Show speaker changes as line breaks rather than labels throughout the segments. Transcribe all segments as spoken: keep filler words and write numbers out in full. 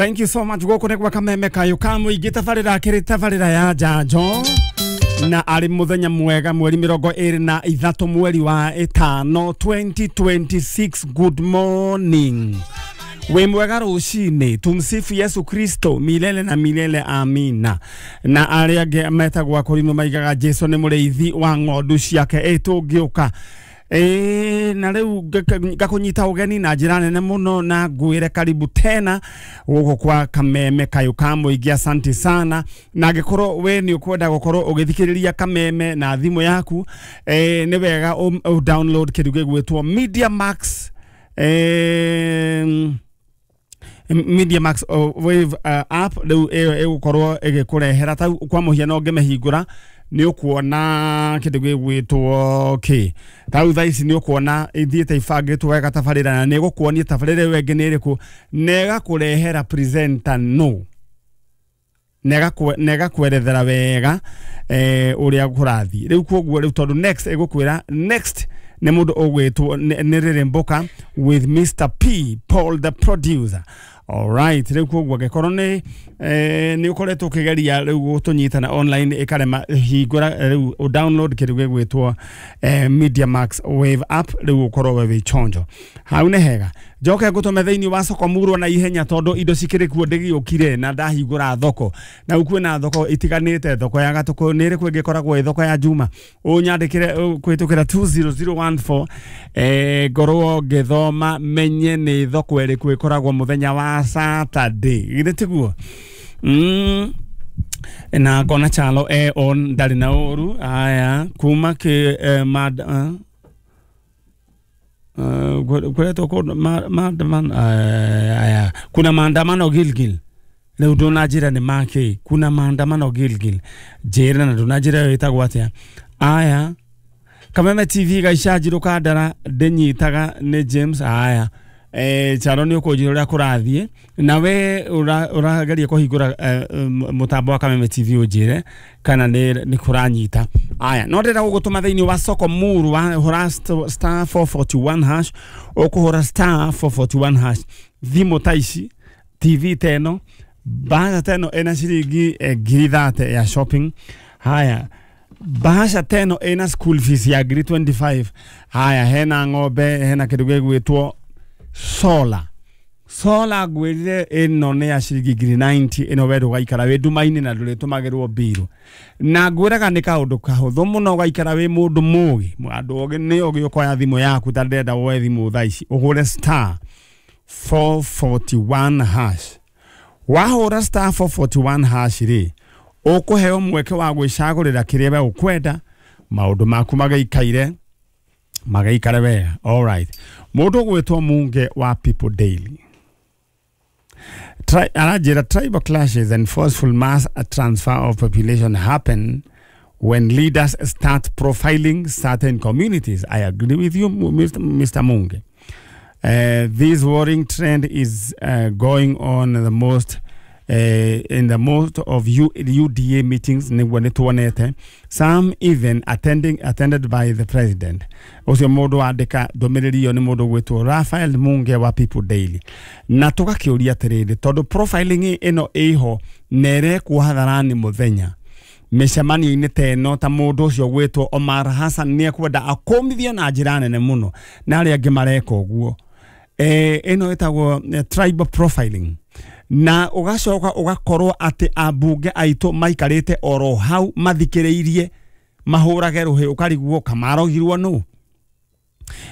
Thank you so much. Gũkũ nĩ gwa Kameme Kayũ ka mũingĩ, tabarĩra akĩrĩ tabarĩra ya njanjo, na arĩ mũthenya mwega, mweri mĩrongo ĩrĩ na ithatũ mweri wa ĩtano twenty twenty-six. Good morning, wĩ mwega rũcinĩ. Tumsifu Yesu Kristo milele na milele, amina. Na arĩa angĩ metagwo akũrimũ maigaga Jesu nĩ mũrĩithi wa ng'ondu ciake. Ĩ tũngĩũka ĩĩ, na rĩu ngakũnyita ũgeni na njĩra nene mũno na ngwĩre karibu tena gũkũ kwa Kameme Kayũ ka mũingĩ. Asante sana. Na angĩkorwo we nĩ ũkwenda gũkorwo ũgĩthikĩrĩria Kameme na thimũ yaku, eh, nĩ wega ũ download kĩndũ gĩgwĩtwo Media Max, eh, Media Max uh, Wave uh, app. Rĩu ĩyo ĩgũkorwo ĩgĩkũrehera tau kwa mũhiano, ũngĩmĩhingũra nĩ ũkuona kĩndũ gĩgwĩtwo kĩ tau thaa ici, nĩ ũkuona ithiĩte ibangĩtwo wega tabarĩra, na nĩ ĩgũkuonia tabarĩra ĩyo ĩngĩ nĩ ĩrĩkũ, na ĩgakũrehera presenter no na ĩgakwerethera wega eh, ũrĩa kũrathiĩ rĩu. Koguo rĩu tondũ next ĩgũkwĩra next nĩ mũndũ ũgwĩtwo nĩ Rĩrĩ Mboka with Mister P Paul the producer. Alright, rĩu koguo angĩkorwo nĩ eh, nĩ ũkoretwo ũkĩgeria rĩu gũtũnyita na online ĩkarema, hingũra rĩu ũ download kĩndũ gĩgwĩtwo eh, Media Max Wave app, rĩu ũkorwo we wĩ chonjo hau. Nĩ hega njoke ngũtũme thĩinĩ wa soko murwo na ihenya, tondũ indo cikĩrĩ kuo ndĩgĩũkire na ndahingũra thoko, na rĩu kwĩna thoko itiganĩte. Thoko ya Gatũkũ nĩ ĩrĩkũ ĩngĩkoragwo ĩ thoko ya Juma? Ũnyandĩkĩre kũhĩtũkĩra two zero zero one four, eh, ngorwo ngĩthoma menye nĩ thoko ĩrĩkũ ĩkoragwo mũthenya wa Saturday. Githĩ tiguo? mm. na ngona Chalo e on, ndarĩ na ũru. Aya, kuma kĩ eh, mad, uh, uh, kuretwo kũndũ maandamano. Aya, kuna maandamano Gilgil. Rĩu ndũnanjĩra nĩ makĩ. Kuna maandamano Gilgil, njĩra na ndũnanjĩra ĩyo ĩtagwo atĩa. Aya, Kameme T V gaicanjirũ kandara ndĩnyitaga nĩ James. Aya, eh, Charo, nĩ ũkũnjĩra ũrĩa kũrathiĩ na we ũrageria kũhingũra eh, mũtambo wa Kameme T V, ũnjĩre kana nĩ nĩ kũranyita. Aya, no ndĩrenda gũgũtũma thĩinĩ wa soko muru wa hũra star four four one hash. Ũkũhũra star four four one hash, thimũ ta ici, T V ta ĩno, bahasha ta ĩno ĩna ciringi eh, ngiri thate ya shopping. Haya, bahasha ta ĩno ĩna school fees ya ngiri mĩrongo ĩrĩ na ithano. Haya, hena ng'ombe, hena kĩndũ gĩgwĩtwo solar. Solar ngwĩrire ĩno nĩ ya ciringi ngiri mĩrongo kenda. Ĩno we ndũgaikara wĩ nduma-inĩ na ndũrĩtũmagĩrwo mbirũ, na ngwĩraga nĩ kaũndũ kahũthũ mũno ũgaikara wĩ mũndũ mũgĩ. Andũ ogĩ nĩ ogĩ. Ũkoya thimũ yaku, ta ndĩrenda woe thimũ thaa ici, ũhũre star four four one hash. Wahũra star four four one hash rĩ, ũkũheo mweke wa gwĩcagũrĩra kĩrĩa we ũkwenda, maũndũ maku magĩikaire magaikare wega. Alright, mũndũ ũgwĩtwo Munge wa People Daily Tri, aranjĩra tribal clashes and forceful mass transfer of population happen when leaders start profiling certain communities. I agree with you, Mister Mister Munge. Uh, this worrying trend is uh, going on the most uh, in the most of U, UDA meetings, nĩguo nĩtuonete, some even attending attended by the president. Ũcio mũndũ wandĩka ndũmĩrĩri ĩyo nĩ mũndũ gwĩtwo Raphael Munge wa People Daily. Na tũgakĩũria atĩrĩrĩ, tondũ profiling ĩno ĩho na ĩrekwo hadharani mũthenya mĩcemanio-inĩ ta ĩno, ta mũndũ ũcio gwĩtwo Omar Hassan nĩ ekwenda akũmithio na njĩra nene mũno, na arĩa angĩ mareka ũguo, eh, ĩno ĩtagwo eh, tribal profiling, na ũgacoka ũgakorwo atĩ ambunge aitũ maikarĩte oro hau mathikĩrĩirie mahũrage rũhĩ, ũkarigwo kamarogirwo nũ.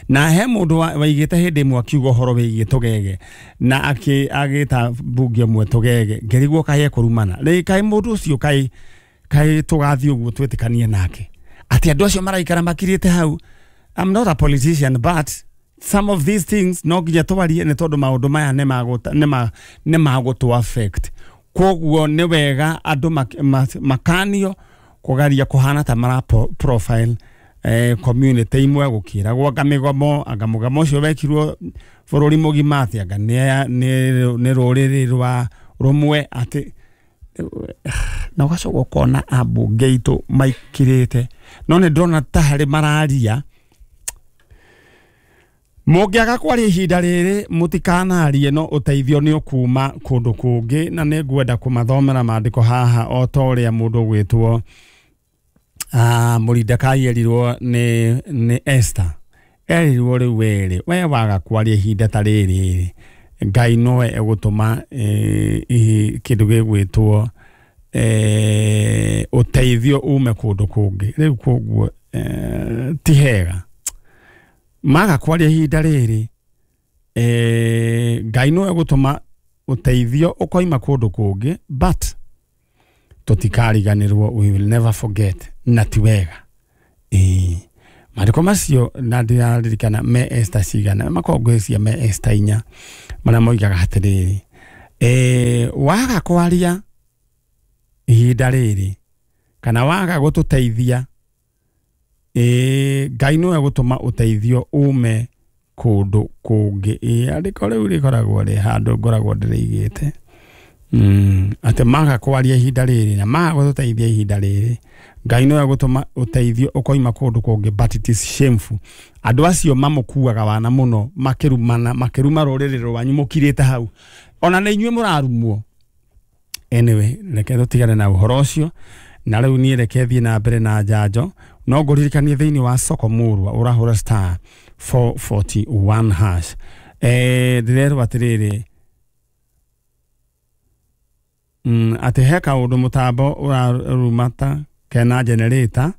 Na he mũndũ wa- waigĩte hĩndĩ ĩmwe akiuga ũhoro wĩgiĩ tũgege, na akĩ agĩta mbunge ĩmwe tũgege, ngĩrigwo kaĩ ekũrumana rĩ, kaĩ mũndũ ũcio kaĩ kaĩ tũgathiĩ ũguo twĩtĩkanie nake atĩ andũ acio maraikara makirĩte hau. I'm not a politician, but some of these things no nginya twarie, nĩ tondũ maũndũ maya nĩ magũta- nĩ ma- nĩ magũtũ affect. Koguo nĩ wega andũ mak- ma- makanio kũgeria kũhana ta mara po- profile eh, community imwe, gũkĩragwo anga mĩgomo, anga mũgomo ũcio wekirwo bũrũri mũgima, atĩ anga nĩ nĩ nĩ rũrĩrĩ rwa rũmwe, atĩ na ũgacoka ũkona ambunge aitũ maikirĩte, no nĩ ndĩrona ta harĩ mararia. Mũngĩaga kwaria ihinda rĩrĩ mũtikanarie no ũteithio nĩ ũkuma kũndũ kũngĩ na nĩ ngwenda kũmathomera maandĩko haha o ta ũrĩa mũndũ ũgwĩtwo ah, Moridekai erirwo nĩ nĩ Esther erirwo rĩu werĩ we waga kwaria ihinda ta rĩrĩ Ngai nowe egũtũma eh, ihi- kĩndũ gĩgwĩtwo eh, ũteithio ume kũndũ kũngĩ rĩu koguo eh, ti hega maga kwaria ihinda rĩrĩ eh, Ngai nowe egũtũma ũteithio ũkoima kũndũ kũngĩ but tũtikariganĩrwo, we will never forget, na ti wega. Ĩĩ maandĩko macio na ndĩraririkana me Esther cigana makoragwo ngwĩciria me Esther inya marĩa moigaga atĩrĩrĩ eh, waga kwaria ihinda rĩrĩ kana waga gũtũteithia eh, Ngai nowe gũtũma ũteithio ume kũndũ kũngĩ. Ĩĩ andĩko rĩu rĩkoragwo rĩ handũ ngoragwo ndĩrĩigĩte mm, atĩ maga kwaria ihinda rĩrĩ na maga gũtũteithia ihinda rĩrĩ Ngai nowe gũtũma ũteithio ũkoima kũndũ kũngĩ, but it is shameful. Andũ acio mamũkuaga wana mũno makĩrumana makĩruma rũrĩrĩ rwanyu mũkirĩte hau ona nĩ inyuĩ mũrarumwo. Anyway, reke tũtigane na ũhoro ũcio na rĩu niĩ reke thiĩ na mbere na njanjo no ngũririkanie thĩinĩ wa soko mũrwa ũrahũra star four forty-one hash. Eh, ndĩrerwo atĩrĩrĩ mm, atĩ he kaũndũ mũtambo ũrarumata kena generator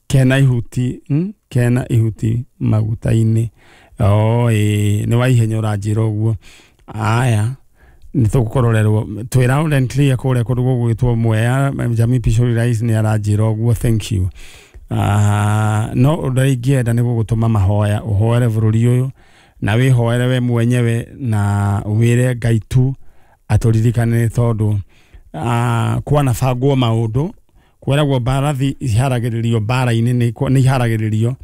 kena ihuti mm, kena ihuti maguta-inĩ. Oh, ĩĩ nĩ wa ihenya ũranjĩra ũguo. Aya nĩ tũkũrorerwo twĩ loud and clear kũrĩa kũndũ gũgwĩtwo Mwea Jamii Pishori Rais nĩ aranjĩra ũguo, thank you. Uh, no ũndũ ũrĩa ingĩenda nĩ gũgũtũma mahoya ũhoere bũrũri ũyũ na wĩhoere we mwenyewe na wĩre Ngai tu atũririkane tondũ uh, kwanabangwo maũndũ kweragwo mbarathi iharagĩrĩrio mbara-inĩ nĩ nĩ iharagĩrĩrio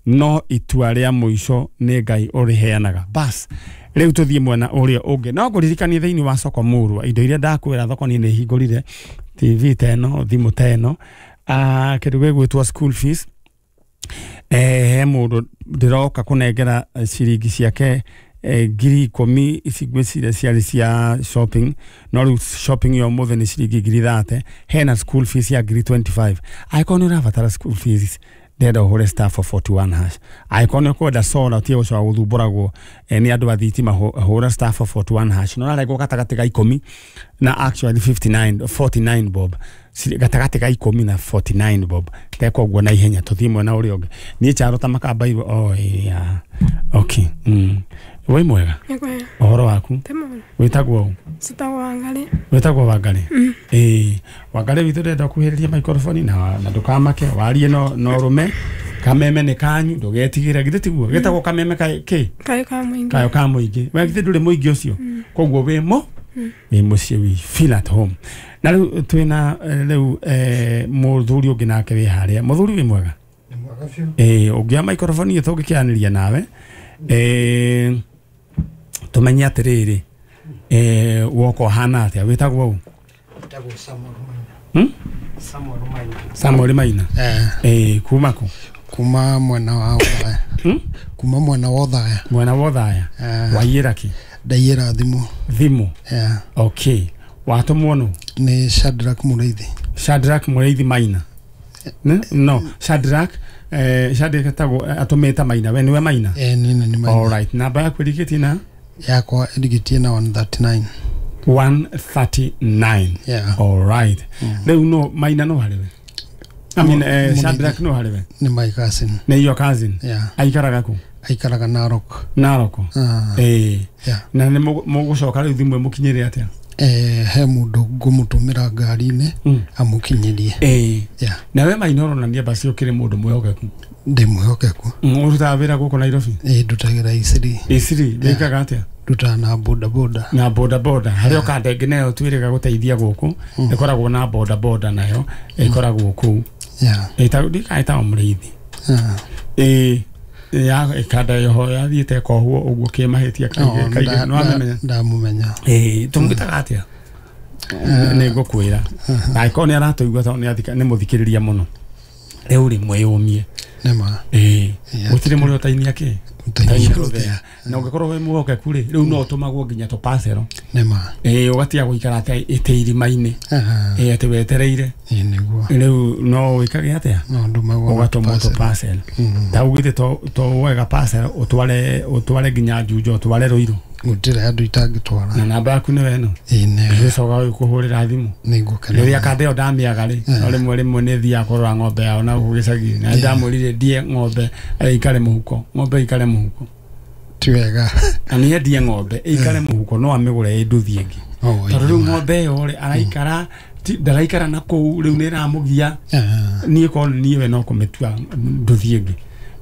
no itua rĩa mũico nĩ Ngai ũrĩheanaga. Bas rĩu tũthiĩ mwena ũrĩa ũngĩ no ngũririkanie thĩinĩ wa soko mũrwa indo iria ndakwĩra thoko niĩ nĩ hingũrire T V ta ĩno thimũ ta ĩno ah, kĩndũ gĩgwĩtwo school fees eh, he mũndũ ndĩroka kũnengera ciringi ciake eh, ngiri ikũmi ici ngwĩciria ciarĩ cia shopping no rĩu shopping ya ũmũthĩ nĩ ciringi ngiri thate hena school fees ya ngiri twenty-five. Angĩkorwo nĩ ũrabatara school fees ndĩrenda ũhũre star four forty-one hash. Angĩkorwo nĩ ũkwenda solar ũtige gũcoka gũthumbũragwo eh, nĩ andũ a thitima hũra star four forty-one hash no ũrarengwo gatagatĩ ga ikũmi na actually fifty-nine forty-nine bob gatagatĩ ga ikũmi na forty-nine bob teka ũguo na ihenya tũthiĩ mwena ũrĩa ũngĩ niĩ Charo ta makambairwo oh, yeah. Okay mm. Wĩ mwega ũhoro waku wĩtagwo ũ?
Citagwo Wangarĩ.
Wĩtagwo Wangarĩ? Ĩĩ Wangarĩ witũ ndĩrenda kuhĩrĩria microphone na na ndũkamake warie no no rũme kameme nĩ kanyu ndũgetigĩre githĩ tiguo gĩtagwo kameme ka kĩ
Kayo ka mũingĩ.
Kayo ka mũingĩ we githĩ ndũrĩ mũingĩ ũcio koguo wĩ mo wĩ mũciĩ we feel at home. Na rĩu twĩna rĩu eh, mũthuri ũngĩ nake wĩ harĩa mũthuri wĩ mwega?
Nĩ mwega biũ.
Ĩĩ ũngĩoya microphone ĩyo tũngĩkĩaranĩria nawe eh, tumenye atĩrĩrĩ eh, woka ũhana atĩa wĩtagwo ũ?
Wĩtagwo Samuel Maina.
Hmm?
Samuel Maina.
Samuel Maina.
Eh.
Eh, kuma kũ?
Kuma mwena wa Othaya.
Hmm?
Kuma mwena wa Othaya.
Mwena wa Othaya.
Eh.
Waiyĩra kĩ?
Ndaiyĩra thimũ.
Thimũ.
Eh.
Okay. Watũmwo nũ?
Nĩ Shadrack Mũrĩithi.
Shadrack Mũrĩithi Maina. Ne? No, Shadrack eh Shadrack etagwo atũmĩte Maina we nĩwe Maina?
Eh, niĩ nĩ Maina.
All right. Namba yaku ĩrigĩtie na?
Yakwa ĩrigĩtie na one thirty-nine.
one thirty-nine.
Yeah.
All right. Rĩu no Maina no harĩ we? I mean, eh,
Mũrĩithi.
Shadrack no harĩ we?
Nĩ my cousin.
Nĩ your cousin?
Yeah.
Aikaraga kũ?
Aikaraga Narok.
Narok.
Ah.
Eh.
Yeah.
Na nĩ mũgũcoka rĩu thimũ ĩmũkinyĩre atĩa?
Eh, he mũndũ ngũmũtũmĩra ngari-inĩ
Mm.
amũkinyĩrie.
Eh.
Yeah.
Na we Maina ũronania basi ũkĩrĩ mũndũ mwĩhokeku.
Ndĩ mwĩhokeku.
Mm, ũrutaga wĩra gũkũ Nairobi?
Ĩĩ ndutagĩra Isiri.
Isiri, wĩkaga atĩa?
Ndutaga na boda boda.
Na boda boda harĩa ũkanda ĩngĩ nayo twĩrĩga gũteithia gũkũ ĩkoragwo na boda boda nayo ĩkoragwo kũu.
Yeah.
Ĩtagwo ndikaĩtagwo Mũrĩithi.
Ah.
Ĩĩ ya ĩkanda yoho yathiĩte ĩkohwo ũguo kĩmahĩtia kaingĩ kaingĩ nĩ wamĩmenya?
Ndamũmenya.
Ĩĩ tũmwĩtaga atĩa? Nĩ ngũkwĩra na angĩkorwo nĩ aratũigua tondũ nĩ athika nĩ mũthikĩrĩria mũno rĩu rĩ mwĩyũmie.
Nĩ ma.
Ĩĩ gũtirĩ mũrĩ ũtainia kĩ?
Gũteithia rũthĩa.
Na ũngĩkorwo wĩ mwĩhokeku rĩ, rĩu no ũtũmagwo nginya tũpacero.
Nĩma.
Ĩĩ, ũgatiga gũikara atĩ ĩtĩ irima-inĩ, ĩĩ, atĩ wetereire.
Ĩĩ nĩguo.
Rĩu no wĩkage atĩa?
No ndũmagwo na
ũgatũmwo
tũparcel.
tũpacero.
Mm.
Ta ugĩte to wega parcel ũtware ũtware nginya Juja, ũtware Ruiru.
Gũtirĩ andũ itangĩtwara.
Na namba yaku nĩwe ĩno?
Ĩĩ nĩyo.
Gĩcoka gũkũhũrĩra thimũ.
Nĩngũkena.
Rĩrĩa kanda ĩyo ndamĩaga rĩ, no rĩmwe rĩmwe nĩ thiaga kũrora ng'ombe yao na gũkũ gĩcagi, na ndamwĩrire ndie ng'ombe ĩikare mũhuko, ng'ombe ĩikare mũhuko.
Ti wega.
Na nĩ endie ng'ombe ĩikare mũhuko, no amĩgũre ĩ nduthi ĩngĩ.
Oh,
tondũ rĩu
ĩĩ.
Ng'ombe ĩyo rĩ, araikara ti- ndaraikara na kũu, rĩu nĩ ĩramũgia.
Ah,
niĩ korwo nĩ niĩ we no kũmĩtua nduthi ĩngĩ.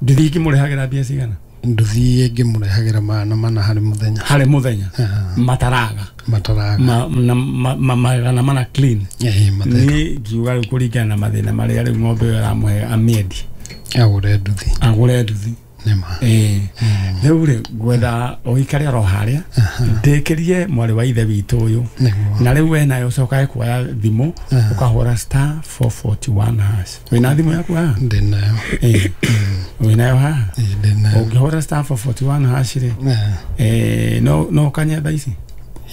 Nduthi ĩngĩ mũrĩhagĩra mbia cigana?
Nduthi ĩngĩ mũrehagĩra magana mana harĩ mũthenya.
Harĩ mũthenya?
Ah,
mataraga?
Mataraga.
Ma- na ma- ma- magana mana clean?
Ĩĩ, matheru.
Niĩ ngiuga rĩu kũringana na mathĩna marĩa rĩu ng'ombe ĩyo ĩramũhe, amĩendie.
Agũre nduthi.
Agũre nduthi.
Nĩma.
Ĩĩ, rĩu rĩ, ngwetha ũikare oro harĩa ndĩkĩrie mwarĩ wa ithe witũ ũyũ.
Nĩguo.
Na rĩu we nayo ũcokage kuoya thimũ, ũkahũra star four forty-one hash. Wĩna thimũ yaku haha?
Ndĩnayo.
Ĩĩ, wĩnayo haha?
Ĩĩ, ndĩnayo.
Ũngĩhũra star four forty-one hash rĩ,
Ah,
eh, no no ũkanye thaa ici.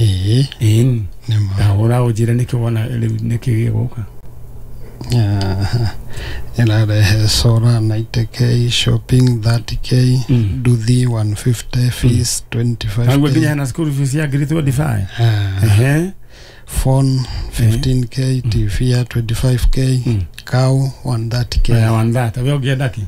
Ĩĩ.
Ĩĩ.
Nĩma.
Ndahũra ũnjĩre nĩkĩ wona rĩu, nĩkĩ gĩgũka.
Ah, ĩrarehe solar ninety k, shopping thirty k,
Mm.
nduthi one fifty, fees
naguo nginya
twenty-five k.
Hena school fees ya ngiri twenty-five.
Ah,
ehe
phone fifteen k, T V ya twenty-five k,
Mm.
cow one thirty k.
Ya one thirty, we ũngĩenda kĩ?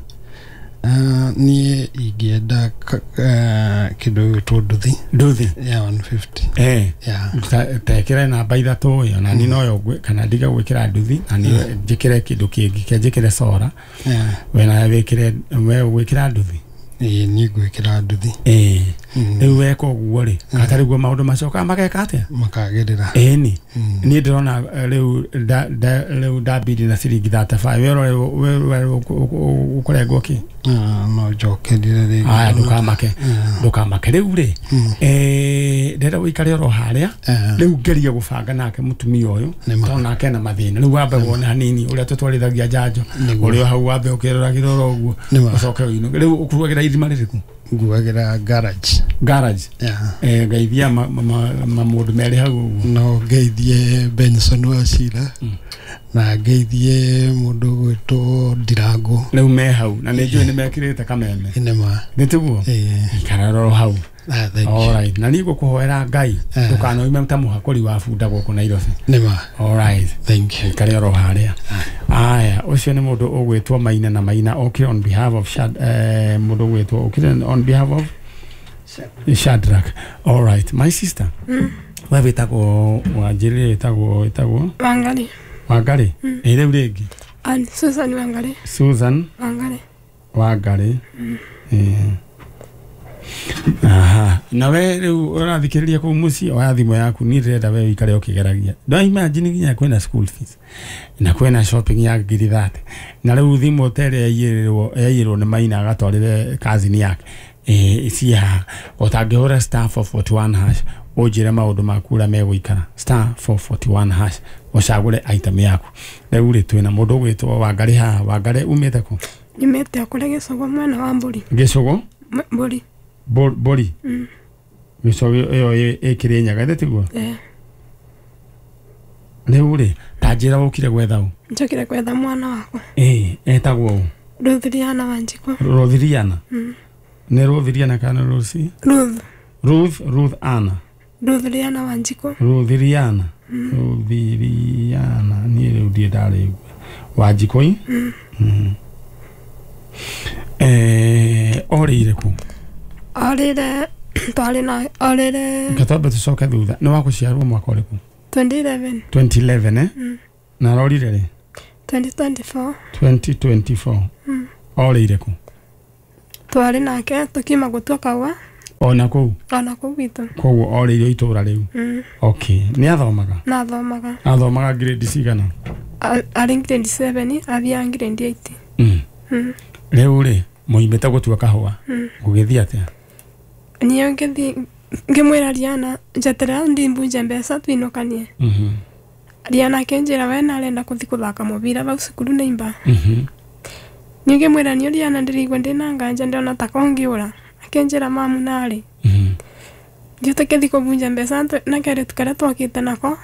Ah, niĩ ingĩenda ka- ah, kĩndũ gĩgwĩtwo nduthi.
Nduthi.
Ya one fifty.
Eh.
Ya.
Ta- tekĩre namba ithatũ ĩyo na niĩ noyo ngwĩ- kana ndige gwĩkĩra nduthi na niĩ njĩkĩre kĩndũ kĩngĩ, ke njĩkĩre sora.
Ya.
We nawe wĩkĩre, we ũgwĩkĩra nduthi?
Ĩĩ, niĩ ngwĩkĩra nduthi.
Ĩĩ.
Mm.
Rĩu weka ũguo rĩ, katarĩ guo maũndũ macokaga mageka atĩa?
Makagĩrĩra.
Ĩni.
Mm.
Niĩ ndĩrona eh, rĩu nda- nda- rĩu ndambindi na ciringi thirty-five, we ũrore we we ũkũrengwo kĩ?
Ah, no njokerire rĩngĩ.
Aya, ndũkamake.
Ah.
Ndũkamake rĩu rĩ.
Mm.
eh, ndĩrenda ũikare oro harĩa.
Ah.
Rĩu ngerie gũbanga nake mũtumia ũyũ,
Nĩma.
tondũ nake ena mathĩna. Rĩu wambe wone hanini ũrĩa tũtwarithagia njanjo.
Nĩguo.
Ũrĩ o hau wambe ũkĩroragĩra oro ũguo.
Nĩma.
Ũcoke ũinũke. Rĩu ũkuagĩra irima rĩrĩkũ?
Nguagĩra garage.
Garage?
Ya.
Eh, ngeithia ma- ma- ma- mamũndũ merĩ hau ũguo.
No ngeithie Benson Wachira na ngeithie mũndũ ũgwĩtwo Ndirango.
Rĩu me hau na nĩ njũĩ nĩ mekĩrĩte kameme.
Nĩma.
Nĩ tiguo?
Ĩĩ.
Ikara oro hau.
Ah, thank you.
Alright, na niĩ ngũkũhoera Ngai
Eh.
ndũkanoime ta mũhakũri wa bunda gũkũ Nairobi.
Nĩma.
Alright.
Thank you.
Ikare oro harĩa. Aya, ũcio nĩ mũndũ ũgwĩtwo Maina, na Maina okire on behalf of Shad, eh, mũndũ ũgwĩtwo okire on behalf of Shadrach. Alright, my sister, we wĩtagwo, wanjĩrĩre wĩtagwo wĩtagwo
Wangari.
Wangari. Ĩ, rĩu rĩngĩ?
Ani Susan Wangari.
Susan.
Wangari.
Wangari. Ĩĩ. Aha, na we rĩu ũrathikĩrĩria kũu mũciĩ, oya thimũ yaku. Niĩ ndĩrenda we ũikare ũkĩgeragia. No imagine nginya kwĩna school fees na kwĩna shopping ya ngiri thate, na rĩu thimũ ta ĩrĩa yaiyĩrwo yaiyĩrwo nĩ Maina agatwarĩre cousin yake ĩĩ ici haha. Ũtangĩhũra star four forty-one hash ũnjĩre maũndũ maku ũrĩa megũikara. Star four forty-one hash, ũcagũre item yaku. Rĩu rĩ, twĩna mũndũ ũgwĩtwo Wangari haha. Wangari, umĩte kũ?
Nyumĩte o kũrĩa Gĩcũgũ, mwena wa Mbũri.
Gĩcũgũ?
M- Mbũri.
Bo- mbũri
Mm.
Gĩcũgũ ĩyo ĩ- ĩ Kĩrĩnyaga, ĩthĩ tiguo?
Eh.
Rĩu rĩ, ta njĩra ũkire gwetha ũ?
Njokire gwetha mwana wakwa.
Ĩĩ, etagwo ũ?
Ruth Riana Wanjikũ.
Rothiriana?
Mm.
Nĩ Rothiriana kana Rosi?
Ruth.
Ruth, Ruth Anna?
Ruth Riana Wanjikũ.
Rothiriana, Rothiriana, niĩ rĩu ndirĩ ndarĩigua. Wanjikũ. Mm. Eh, orĩire kũ?
Orĩre twarĩ na orĩre.
Reke twambe tũcoke thutha. Nĩ wa gũciarwo mwaka ũrĩkũ?
twenty eleven.
twenty eleven, eh?
Mm.
Na arorire rĩ?
twenty twenty-four.
twenty twenty-four.
Mm.
Orĩire kũ?
Twarĩ nake tũkiuma gũtua kaũa.
Ona kũu?
Ona kũu gwitũ.
Koguo orĩire itũũra rĩu?
Mm.
Okay, nĩ athomaga?
Na athomaga.
Athomaga grade cigana?
A- arĩ grade seven, athiaga grade eight.
Mm.
Mm.
Rĩu rĩ, mũimĩte gũtua kahũa,
Mm.
gũgĩthiĩ atĩa?
Niĩ ngĩthiĩ ngĩmwĩra Riana njeterera ndimbunje mbeca twinũkanie.
Mhm.
Riana akĩnjĩra we narenda kũthiĩ kũthaka mũbira vau cukuru nĩ imba.
Mhm.
Niĩ ngĩmwĩra niĩ Riana ndĩraigua ndĩna nganja, ndĩrona ta kongĩũra. Akinjira mamu nari
Mhm.
Ndiũte kĩthi kũbunja mbeca na kairĩtu karĩa twakĩte nako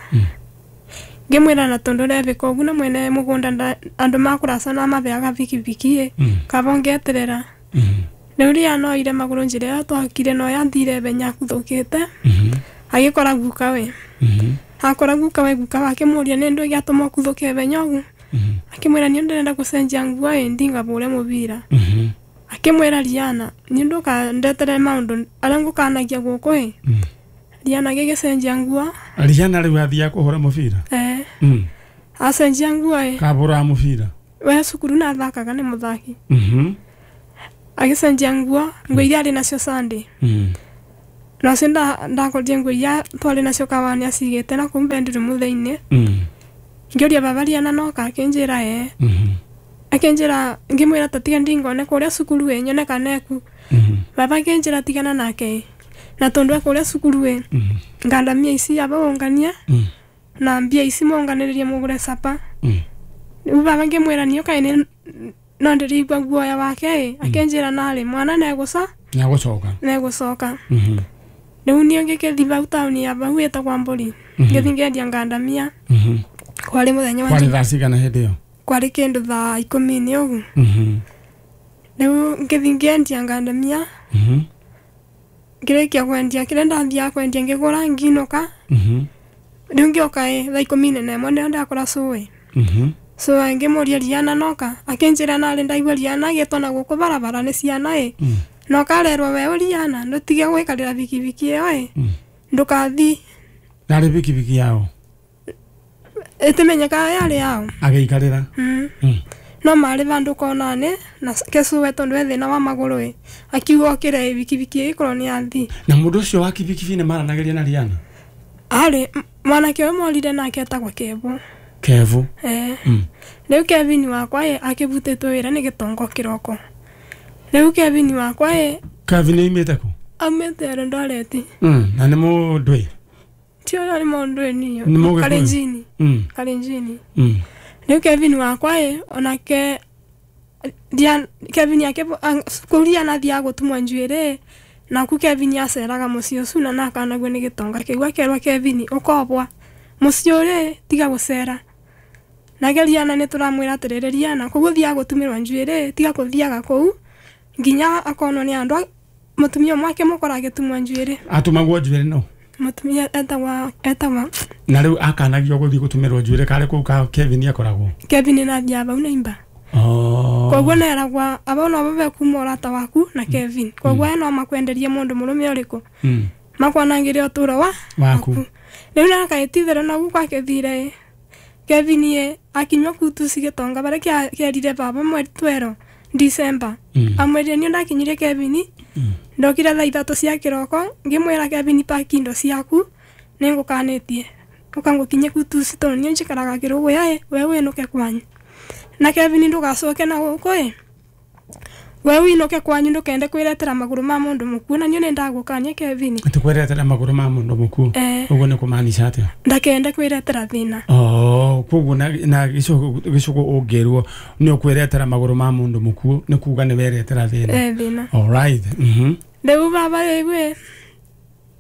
ngĩmwĩra na tondũ ndebĩka ũguo na mwene mũgũnda andũ makũraca na mabeaga bikibiki ĩ kaba ngeterera rĩu rĩa noire magũrũ njĩra ĩrĩa twakire no yathire benya akuthũkĩte agĩkora guka we akora guka we guka wake mũria nĩ ndũ gĩatũma ũkuthũke benya ũguo akĩmwĩra niĩ ndĩrenda gũcenjia nguo ĩ ndingabũre mũbira akĩmwĩra Riana niĩ ndũkandetere maũndũ arĩa ngũkanagia gũkũ ĩ Riana agĩgĩcenjia nguo
Riana rĩu athiaga kũhũra mũbira
eh acenjia nguo ĩ
kabũraga mũbira
we cukuru na athakaga nĩ mũthaki agĩcenjia nguo nguo iria arĩ nacio Sunday nacio ndakorire nguo iria twarĩ nacio kawani acigĩte na kũu bedroom thĩinĩ ngĩũria baba Riana noka akĩnjĩra ĩ akĩnjĩra ngĩmwĩra ta tiga ndingone kũrĩa cukuru ĩ nyone kana eku baba akĩnjĩra tigana nake na tondũ e kũrĩa cukuru ĩ ngandamia ici aba ũngania na mbia ici monganĩrĩrie mũgũre capa rĩu baba ngĩmwĩra niĩ kaĩ nĩ no ndĩrĩigua guoya wake ĩ akĩnjĩra narĩ mwana negũca
negũcoka
negũcoka rĩu niĩ ngĩkĩthi bau taũni ya bau ĩtagwa Mbũri ngĩthi ngendia ngandamia kwarĩ mũthenya wa
kwarĩ thaa cigana hĩndĩ ĩyo
kwarĩ kĩndũ thaa ikũmi-inĩ ũguo rĩu ngĩthi ngĩendia ngandamia ngĩrĩkia kwendia kĩrĩa ndathiaga kwendia ngĩgũra nginũka rĩu ngĩũka ĩ thaa ikũmi na ĩmwe nĩyo ndakora cũĩ cũĩ ngĩmũria Riana noka akĩnjĩra narĩ ndaigua Riana agĩtwo na gũkũ barabara nĩ ciana ĩ noka arerwo we Riana ndũtige gwĩkarĩra bikibiki ĩyo ĩ ndũkathi
yarĩ bikibiki yao
ĩtimenyekaga yarĩ yao
agĩikarĩra
no marĩ vandũ kona-inĩ na kecũwe tondũ e thĩna wa magũrũ ĩ akiuga okĩre ĩ bikibiki ĩgĩkorwo nĩ yathi
na mũndũ ũcio wa kibikibi nĩ maranagĩria na Riana
arĩ mwanake ũyũ morire nake etagwo Kevu
Kevu
eh rĩu Kevin wakwa ĩ akĩbutĩtwo wĩra nĩ gĩtongo kĩroko rĩu Kevin wakwa ĩ
Kevin aumĩte kũ
aumĩte Eldoret
na nĩ mũndũ ĩ
ti ũrĩa nĩ mũndũ ĩ niyo Kalenjini Kalenjini rĩu Kevin wakwa ĩ onake Kevin yake kũu Riana athiaga gũtumwo njuĩrĩ naku Kevin aceraga mũciĩ ũcio na nakanagio nĩ gĩtonga kĩu akerwo Kevin ũkobwa mũciĩ ũrĩ tiga gũcera nake Riana nĩ tũramwĩra atĩrĩrĩ Riana kũu ũthiaga gũtumĩrwo njuĩrĩ tiga kũthiaga kũu nginya akonwo nĩ andũ mũtumia ũmwe akĩmũkora agĩtumwo njuĩrĩ
atumagwo njuĩrĩ no
mũtumia etagwa etagwa
na rĩu akanagio gũthiĩ gũtumĩrwo njuĩrĩ karĩ kũu ka Kevin akoragwo
Kevin nathiaga bau na imba
oh
koguo neragwa aba no babe kuma ũrata waku na Kevin koguo no makwenderie mũndũ mũrũme ũrĩkũ makwanangĩre ũtũro wa
waku
rĩu nakaĩtithĩra nagu gwakĩthire Kevin ĩ akinyua kutuci gĩtonga barĩa kĩerire baba mweri twero December amwĩrire niĩ ndakinyire Kevin ndokire thaa ithatũ cia kĩroko ngĩmwĩra Kevin paki indo ciaku nĩngũkanĩtie ũkangũkinye kutuci tondũ niĩ njikaraga kĩrũgũya ĩ we wĩnũke kwanyu na Kevin ndũgacoke na gũkũ ĩ we wĩinũke kwanyu ndũkende kwĩretera magũrũ ma mũndũ mũkuũ na niĩ nĩndagũkania Kevin
atĩ kwĩretera magũrũ ma mũndũ mũkuũ ũguo nĩ kũmaanica atĩa
ndakende kwĩretera thĩna
oh koguo na na gĩcũgũ ũngĩrwo nĩ ũkwĩretera magũrũ ma mũndũ mũkuũ nĩ kuga nĩ weretera thĩna
eh thĩna
all right mhm
rĩu baba rĩu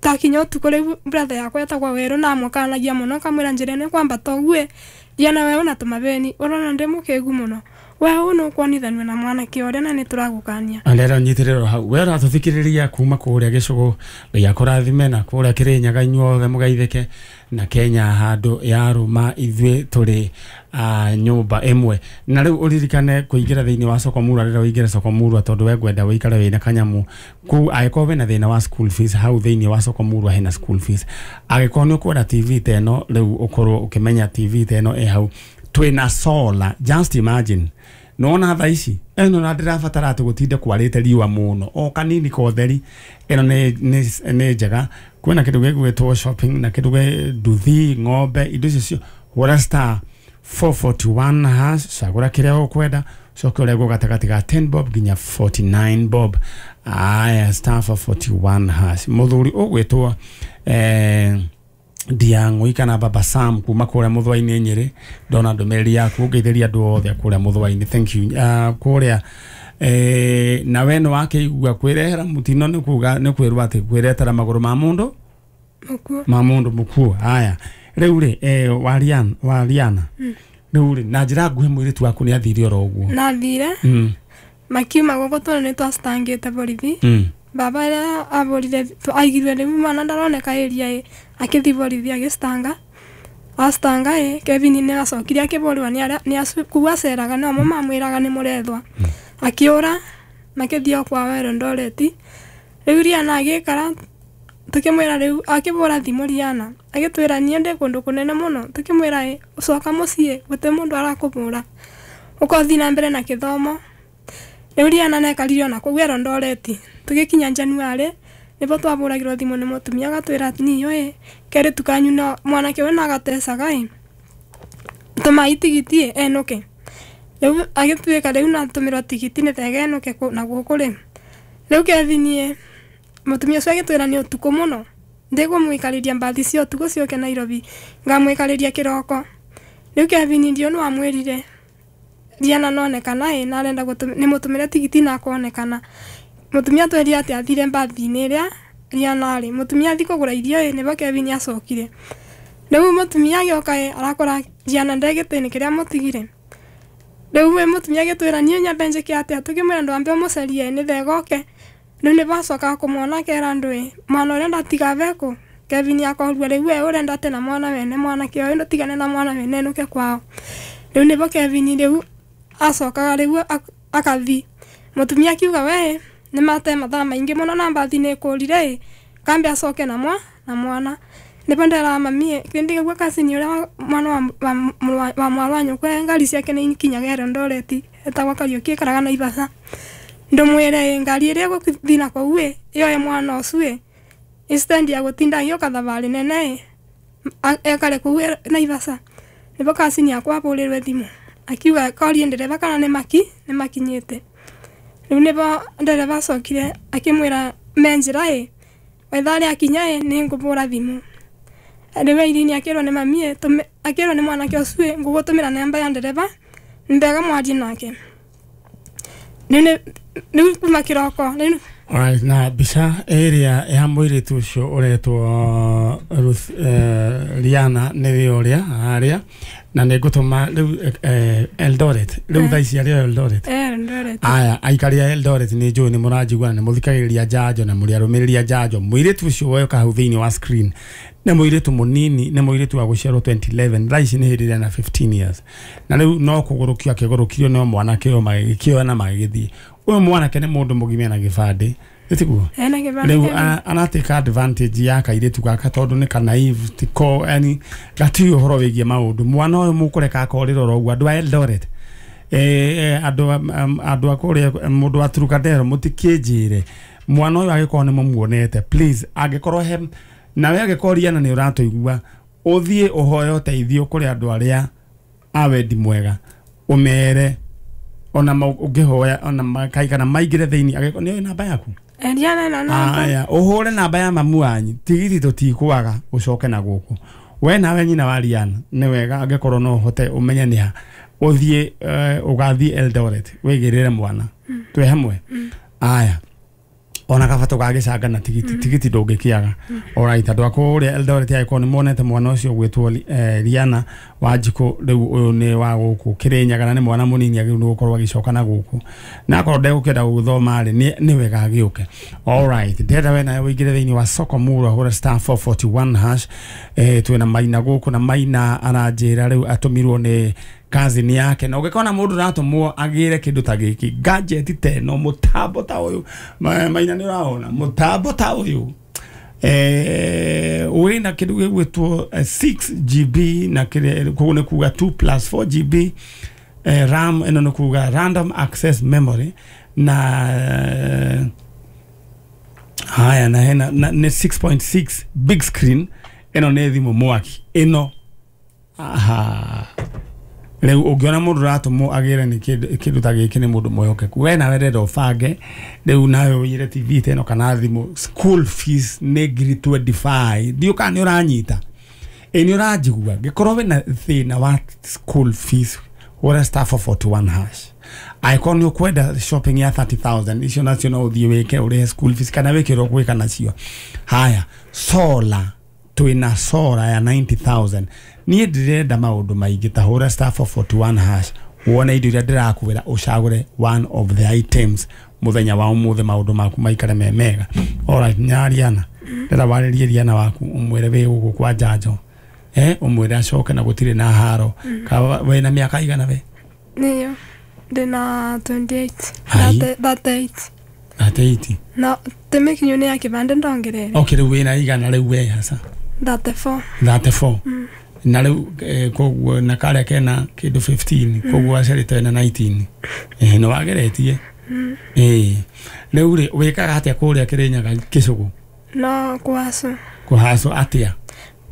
takinya ũtukũ rĩu brother yakwa etagwo Werũ na amũkanagia mũno akamwĩra njĩra ĩno ĩkwambata ũguo Riana we ũna tũmabeni ũrona ndĩ mũkĩgu mũno we ũũ nĩũkuonithanio na mwanake ũrĩa na nĩtũragũkania
andera nyitĩrĩrwo hau we ũratũthikĩrĩria kuma kũrĩa gĩcũgũ Ngai akũrathime na kũrĩa Kĩrĩnyaga inyuothe mũgeithĩke na Kenya handũ yarũma ithuĩ tũrĩ nyũmba ĩmwe na rĩu ũririkane kũingĩra thĩinĩ wa soko murwa rĩrĩa ũingĩre soko murwa tondũ we ngwenda ũikare wĩna kanyamu kũu angĩkorwo wĩna thĩna wa school fees hau thĩinĩ wa soko murwa hena school fees angĩkorwo nĩ ũkwenda T V ta ĩno rĩu ũkorwo ũkĩmenya T V ta ĩno ĩ hau twĩna solar just imagine nona thaa ici ĩno na ndĩrabatara atĩ gũtinde kwarĩte riũa mũno o kanini kotheri ĩno nĩ njega kwĩna kĩndũ gĩgwĩtwo shopping na kĩndũ gĩ nduthi ng'ombe indo icio cio hũra star four forty-one hash cagũra kĩrĩa ũkwenda coke ũrengwo gatagatĩ ga ten bob nginya forty-nine bob aya star four forty-one hash mũthuri ũgwĩtwo eh, Ndiang'ui kana Baba Sam kuma kũrĩa Mũthũa-inĩ Nyĩrĩ ndona ndũmĩrĩri yaku ũngeithĩria andũ othe kũrĩa Mũthũa-inĩ thank you uh, kũrĩa Eh na we no akĩigua kwĩrehera mũtino nĩ kuga nĩ kwĩrwo atĩ kwĩretera magũrũ ma mũndũ
Mũkuo.
Ma mũndũ mũkuo. Haya rĩu rĩ eh Wariana Wariana rĩu rĩ na njĩra nguhĩ mũirĩtu waku nĩ athire oro ũguo.
Na athire.
Mm.
Makiuma gũkũ tondũ nĩ twacitangĩte borithi.
Mm.
Baba ĩrĩa abũrire aigirwe rĩu mwana ndaroneka area ĩ akĩthiĩ borithi agĩcitanga. Acitanga ĩ Kevin nĩ acokire akĩbũrwo nĩ arĩa nĩ acu kuu aceraga no mo mamwĩraga nĩ mũrethwa. Akĩũra makĩthiĩ o kwao Eldoret. Rĩu Riana agĩikara tukĩmwĩra rĩu akĩbũra thimũ Riana agĩtwĩra niĩ ndĩ kũndũ kũnene mũno tukĩmwĩra ĩ coka mũciĩ gũtirĩ mũndũ arakũbũra ũkothiĩ na mbere na kĩthomo. Rĩu Riana nekarire ona kũu Eldoret tũgĩkinya January nĩbo twabũragĩrwo thimũ nĩ mũtumia agatwĩra niyo ĩ kerĩtu kanyu no mwanake ũyũ no agatecaga ĩ tũmai tigiti ĩ enũke. Rĩu agĩtuĩka rĩu natũmĩrwo tigiti nĩ thega enũke na gũkũ rĩ. Rĩu Kevin ĩ mũtumia ũcio agĩtwĩra nĩ ũtukũ mũno ndĩkũmũikarĩria mbathi cia ũtukũ ciũke Nairobi ngamũikarĩria kĩroko. Rĩu Kevin ndio nĩ wamwĩrire Riana nonekana ĩ na arenda nĩ mũtũmĩre tigiti na akonekana. Mũtumia atwĩrire atĩ athire mbathi-inĩ ĩrĩa Riana arĩ. Mũtumia athiĩ kũgũra irio ĩ nĩbo Kevin acokire. Rĩu mũtumia agĩũka ĩ arakora Riana nde gĩtĩ-inĩ kĩrĩa mũtigire. Rĩu we mũtumia agĩtwĩra niĩ nyambe njĩke atĩa tũkĩmwĩra ndwambe ũmũcarie nĩ thega oke. Rĩu nĩbo acokaga kũmwona akera andũ ĩ mwana ũrĩa ndatiga bekũ. Kevin akorwo rĩu we ũrenda atĩ na mwana wene mwanake ũyũ ndũtigane na mwana wene enũke kwao. Rĩu nĩbo Kevin rĩu acokaga rĩu akathi. Mũtumia akiuga we nĩ mate mathaa maingĩ mũno na mbathi nĩ ĩkũrire ĩ kambe acoke na mwa na mwana. Nĩbo nderaga mami kĩndĩ gĩguo kasini ũrĩa mwana wa wa wa mwarĩ wa nyũkwa ngari ciake nĩ ikinyaga Eldoret etagwo Kariũki aikaraga Naivasha. Ndũmwĩre ĩ ngari ĩrĩa ĩgũthiĩ na kũu ĩ yoe mwana ũcio ĩ instead ya gũtinda agĩũka thabarĩ nene ĩ ekare kũu Naivasha. Nĩbo kasini akwa abũrĩrwe thimũ akiuga korie ndereba kana nĩ maki nĩ makinyĩte. Rĩu nĩbo ndereba acokire akĩmwĩra me njĩra ĩ wetha rĩa akinya ĩ nĩ ngũbũra thimũ. Rĩu Irene akĩrwo nĩ mami ĩ akĩrwo nĩ mwanake ũcio ĩ ngũgũtũmĩra namba ya ndereba ndega mwarie nake. Rĩu rĩu kuma kĩroko rĩu.
Alright, na mbica ĩrĩa ya mũirĩtu ũcio ũretwo Ruth eh, Riana nĩ ũrĩa harĩa na nĩ ngũtũma rĩu eh, Eldoret rĩu thaa ici arĩ Eldoret.
Eldoret.
Aya aikari a Eldoret nĩ njũĩ nĩ mũranjigua na nĩ mũthikagĩrĩria njanjo na mũrĩ arũmĩrĩri a njanjo. Mũirĩtu ũcio woyoka hau thĩinĩ wa screen nĩ mũirĩtu mũnini nĩ mũirĩtu wa gũciarwo twenty eleven thaa ici nĩ hĩndĩ ĩrĩa na fifteen years na rĩu no kũgũrũkio akĩgũrũkirio nĩ mwanake ũyũ magĩkĩoya na magĩgĩthiĩ. Ũyũ mwanake nĩ mũndũ mũgima na gĩbandĩ ĩtiguo rĩu anatake advantage ya kairĩtu gaka tondũ nĩ ka naive tiko yani gatiũĩ ũhoro wĩgiĩ maũndũ. Mwana ũyũ mũkũreka akorĩra oro ũguo andũ a Eldoret eh andũ andũ a kũrĩa mũndũ wa Turukadero mũtikĩnjĩre mwana ũyũ angĩkorwo nĩ mũmuonete please angĩkorwo he nawe angĩkorwo Riana nĩ ũratũigua ũthiĩ ũhoe ũteithio kũrĩ andũ arĩa a wendi mwega ũmere ona ũngĩhoya ona makaigana maingĩre thĩinĩ angĩkorwo nĩ namba yaku
Riana na namba.
Aya ũhũre namba ya mamu wanyu tigiti tũtikwaga ũcoke na gũkũ. We nawe nyina wa Riana nĩ wega angĩkorwo no ũhote ũmenye nĩ ha ũthiĩ ũgathiĩ Eldoret wĩgĩrĩre mwana twĩ hamwe. Aya ona kaba tũgagĩcanga na tigiti tigiti ndũngĩkĩaga. Alright andũ a kũrĩa Eldoret angĩkorwo nĩ monete mwana ũcio ũgwĩtwo Riana Wanjikũ rĩu ũyũ nĩ wa gũkũ Kĩrĩnyaga na nĩ mwana mũnini agĩrĩirwo nĩ gũkorwo agĩcoka na gũkũ na akorwo ndegũkĩenda gũthoma rĩ nĩ wega agĩũke. Alright ndĩrenda we nawe ũingĩre thĩinĩ wa soko murwa hũra star four forty one hash eh twĩna Maina gũkũ na Maina aranjĩra rĩu atũmirwo nĩ cousin yake na ũngĩkona mũndũ ũratũmwo agĩre kĩndũ ta gĩkĩ gadget ta ĩno mũtambo ta ũyũ Maina nĩ ũraona mũtambo ta ũyũ eh wĩna kĩndũ gĩgwĩtwo six G B na kĩrĩa koguo nĩ kuga two plus four G B eh, RAM ĩno nĩ kuga random access memory na haya na hena nĩ six point six big screen ĩno nĩ thimũ mwaki ĩno aha Rĩu ũngĩona mũndũ ũratũmwo agĩre nĩ kĩndũ ta gĩkĩ nĩ mũndũ mwĩhokeku. We nawe renda ũbange rĩu nawe ũiyĩre T V ta ĩno kana thimũ. School fees nĩ ngiri twenty five. Ndiũ kana nĩ ũranyita. Ĩ nĩ ũranjigua. Ngĩkorwo wĩna thĩna wa school fees hũra star four forty one hash. Angĩkorwo nĩ ũkwenda shopping ya thirty thousand, icio nacio no ũthiĩ wĩke ũrĩhe school fees kana wĩke ũrĩa ũgwĩka nacio. Haya, solar, twĩna solar ya ninety thousand. Niĩ ndĩrenda maũndũ maingĩ, ta hũra star four forty one hash wone indo iria ndĩrakwĩra, ũcagũre one of the items mũthenya wa ũmũthĩ, maũndũ maku maikare me mega. Alright, nyariana, ndĩra warĩrie Riana waku, ũmwĩre wĩ gũkũ kwa njanjo, eh ũmwĩre acoke na gũtirĩ na haro. Ka wĩna mĩaka igana we?
Nĩyo ndĩna twenty eight.
Ai.
Thirty eight.
Thirty eight.
Na tĩmĩkinyu nĩ ya kĩbandĩ ndongerere.
Okay, rĩu wĩna igana rĩu we hasa?
Thirty four.
Thirty four. Na rĩu eh, koguo na karĩa kena kĩndũ fifteen, koguo aciarĩte wĩna nineteen. Eh, nĩ wageretie. Eh, rĩu rĩ wĩkaga atĩa kũrĩa Kĩrĩnyaga Kĩcũgũ?
No kũhacwo.
Kũhacwo atĩa?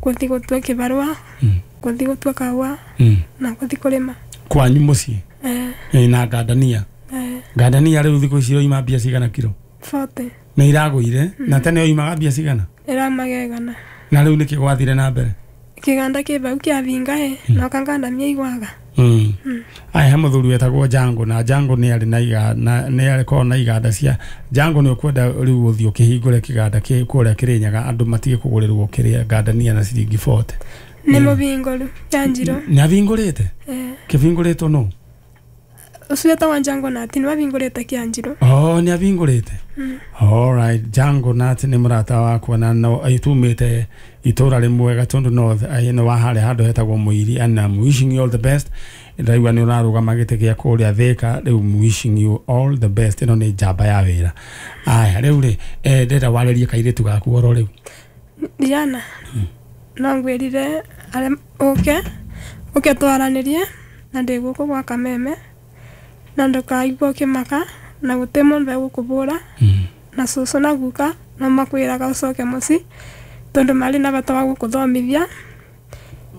Gũthiĩ gũtua kĩbarũa,
Mm.
gũthiĩ gũtua kahũa,
Mm.
na gũthiĩ kũrĩma.
Kwanyu mũciĩ?
Eh.
Eh, na ngandania?
Eh.
Ngandania rĩu thikũ ici iroima mbia cigana kiro?
Forty.
Nĩ iragũire? Na tene oimaga mbia cigana?
Ĩraumaga igana.
Na rĩu nĩkĩ gwathire na mbere?
Kĩganda kĩ bau kĩabinga ĩ, na ũkangandamia igwaga.
Mm. Aya, he mũthuri wetagwo Jango, na Jango nĩ arĩ na iga, na nĩ arĩ korwo na iganda cia Jango. Nĩ ũkwenda rĩu ũthiĩ ũkĩhingũre kĩganda kĩ kũrĩa Kĩrĩnyaga, andũ matige kũgũrĩrwo kĩrĩa ngandania na ciringi forty.
Nĩ mũbingũru Janjiro.
Nĩ abingũrĩte?
Eh.
Kĩbingũrĩtwo nũ?
Ũcio wetagwo Jango Nati nĩ wabingũrĩte Kĩanjirũ.
Oh, nĩ abingũrĩte. Alright, Jango Nati nĩ mũrata wakwa na no tumĩte itũra rĩmwe Gatundu North, nĩ wa harĩa handũ hetagwo Mũiri, and I'm wishing you all the best. Ndaigua nĩ ũrarũgama gĩtĩ gĩa kũrĩa Thĩka, rĩu I'm wishing you all the best. Ĩno nĩ njamba ya wĩra. Aya, rĩu rĩ, eh, ndĩrenda warĩrie kairĩtu gaku oro rĩu.
Diana, no ngwĩrire arĩa ũke ũke twaranĩrie, na ndĩ gũkũ gwa Kameme, na ndũkaigua ũkĩmaka, na gũtĩ mũndũ egũkũbũra, na cũcũ na guka no makwĩraga ũcoke mũciĩ tondũ marĩ na bata wa gũkũthomithia.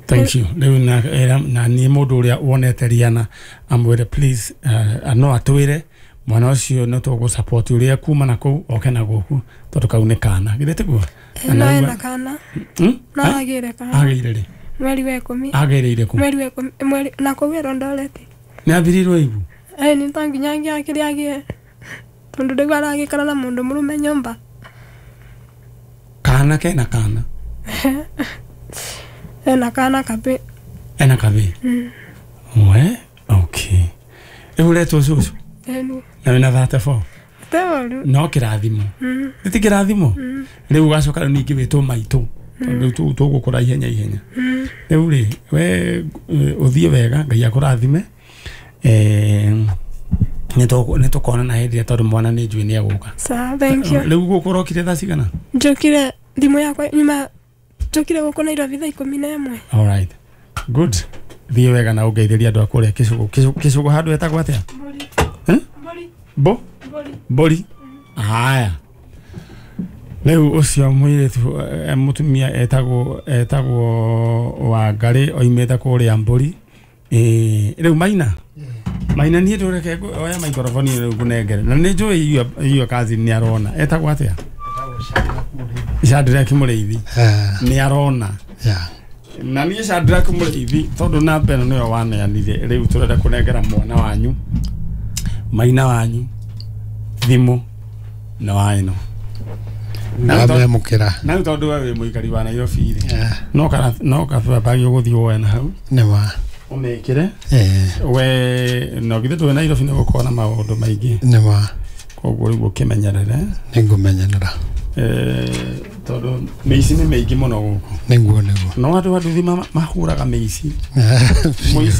Thank you. Rĩu na era, na niĩ mũndũ ũrĩa wonete Riana amwĩre please, uh, no atwĩre mwana ũcio no tũgũ support ũrĩa kuma na kũu oke na gũkũ, tondũ kau nĩ kana, githĩ tiguo?
No ena kana.
Hmm?
No agĩre kana.
Agĩire rĩ?
Mweri wa ikũmi.
Agĩrĩire kũ?
Mweri wa ikũmi, mweri na kũu Eldoret.
Nĩ athirirwo ibu?
Eh, nĩ ta nginya angĩakĩrĩ agĩe, tondũ rĩu aragĩikara na mũndũ mũrũme nyũmba.
Kana kena kana?
Ena kana kabe.
Ena kabe?
Mm.
We, okay. Rĩu ũretwo cũcũ?
Eni.
Na wĩna thirty four?
Teoru.
No kĩrathimo.
Mm.
Ti kĩrathimo?
Mm.
Rĩu ũgacoka rĩu ningĩ wĩtwo maitũ. Tondũ rĩu tũgũkũra ihenya ihenya.
Mm.
Rĩu rĩ, we ũthiĩ wega, Ngai akũrathime. Eh, nĩ tũkonana hĩndĩ ĩrĩa, tondũ mwana nĩ njũĩ nĩ egũka.
Sawa, thank you.
Rĩu gũkũ ũrokire thaa cigana?
Njũkire thimũ yakwa nyuma, njũkire gũkũ Nairobi thaa ikũmi na ĩmwe.
Alright. Good. Thiĩ wega na ũngeithĩrie andũ a kũrĩa Kĩcũgũ. Kĩcũgũ handũ hetagwo atĩa?
Mbũri.
Eh?
Mbũri.
Bo?
Mbũri.
Mbũri. Haya. Rĩu ũcio mũirĩtu, mũtumia etagwo etagwo Wangarĩ, oimĩte kũrĩa Mbũri. Eh, rĩu Maina. Maina niĩ ndũreke oya microphone rĩu ngũnengere. Na nĩ njũĩ iyo cousin nĩ arona. Etagwo atĩa? Shadrack Mũrĩithi. Nĩ arona.
Yeah.
Na niĩ Shadrack Mũrĩithi tondũ namba ĩno nĩyo waneanire, rĩu tũrenda kũnengera mwana wanyu, Maina wanyu, thimũ na wa ĩno.
Ndamĩamũkĩra.
Na rĩu tondũ we wĩ mũikari wa Nairobi rĩ, no kana no kabagi ũgũthiĩ woe na hau.
Nĩ ma.
Ũmĩkĩre.
Eh.
We no githĩ ndũĩ Nairobi nĩ gũkorwo na maũndũ maingĩ.
Nĩ ma.
Koguo rĩu ũkĩmenyerere.
Nĩ ngũmenyerera.
Eh, tondũ mĩici nĩ mĩingĩ mũno gũkũ.
Nĩguo, nĩguo.
No andũ a nduthi mahũraga mĩici. Mũici